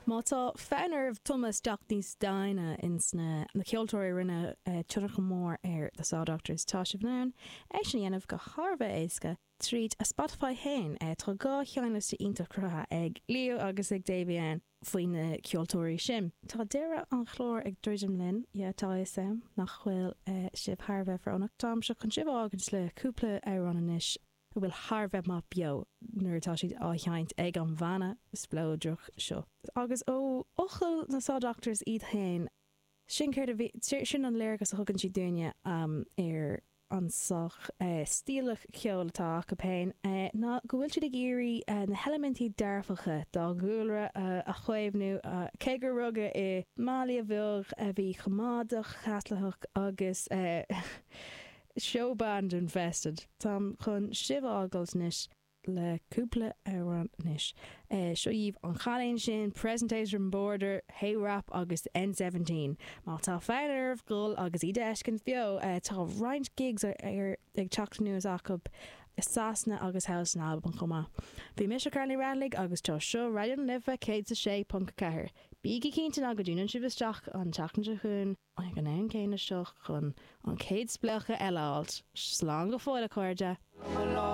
Má tá fonn oraibh tumadh isteach níos doimhne ins na ceoltóirí a rinne tionchar mór ar The Saw Doctors, tá sibh in ann é sin a dhéanamh go thar a bheith éasca tríd a Spotify féin. Tá 2 sheinnliosta iontach cruthaithe ag Leo agus ag Davy ann faoi na ceoltóirí sin. Tá deireadh an chláir ag druidim linn, yeah, tá a fhios a'm nach bhfuil sibh thar a bheith fonnmhar. Táimse chun sibh a fhágaint le cúpla amhrán anois. a bhfuil thar a bheith maith beo nuair atá siad á sheinnt ag an bhanna spleodrach seo. Agus ó fhocail na Saw Doctors iad féin, sin céard a bhí, sin an léargas a thugann siad dúinne ar an saghas stíle ceoil atá acu féin, ná go bhfuil siad ag iarraidh na heilimintí dearfacha dá gcúlra a chaomhnú, cé gur rugadh i mbaile bheag a bhí coimeádach, Caitliceach agus. Showband infested. Táim chun sibh a fhágáilt anois le cúpla amhrán anois. Seo dhaoibh An Cailín Sin, Presentation Border, Hey Rap agus N17. Má tá fonn oraibh dul agus iad a fheiscint beo, tá roinnt gigs ag teacht anuas acu i Sasana agus thall san Albain chomh maith. Bhí mise Carla Ní Raghallaigh agus tá seo Raidió na Life 106.4. Bígí cinnte ná go dtiúnann sibh isteach an tseachtain seo chugainn. Ag an am céanna seo chun an chéad spléachadh eile a fháilt. Slán go fóill, a chairde!